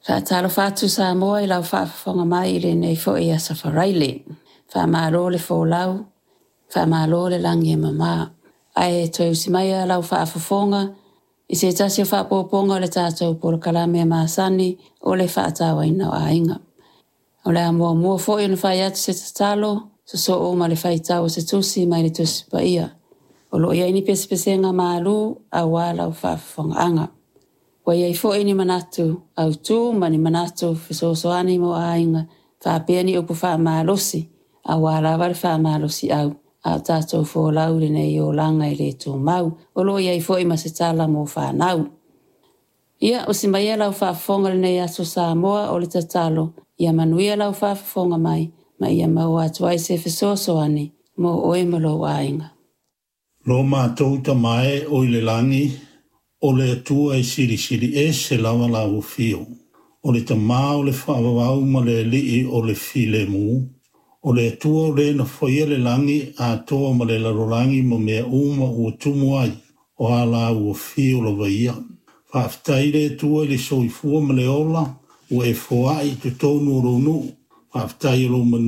Faatalofa atu Samoa i lau faafofoga mai i lenei foi aso Faraile. Faamalo le folau, faamalo le lagi e mama. Ae toe usi mai lau faafofoga i se tasi o faaopoopoga o le tatou polokalame masani o le faatauaina o aiga. O le a muamua foi ona fai atu se tatalo, sosoo ma le faitau o se tusi mai le Tusi Paia. O lo o i ai ni pesepesega malu aua lau faafofogaaga. Ua i ai foi ni manatu autu ma ni manatu fesoasoani mo aiga faapea ni upu faamalosi aua lava le faamalosiau a o tatou folau i lenei olaga e le tumau. O lo o i ai foi ma se tala mo fanau. Ia, usi maia lau faafofoga i lenei aso Samoa, o le tatalo, ia manuia lau faafofoga mai ma ia maua atu ai se fesoasoani mo oe ma lou aiga. Lo matou Tama e o i le lagi, o le Atua e silisili ese lava lau afio. O le Tama o le faavavau ma le Alii o le filemu, o le Atua o le na faia le lagi atoa ma le lalolagi ma mea uma ua tumu ai, o a lau afio lava ia. Faafetai le Atua i le soifua ma le ola ua e foai i totonu o lou nuu. Faafetai o lou manuia.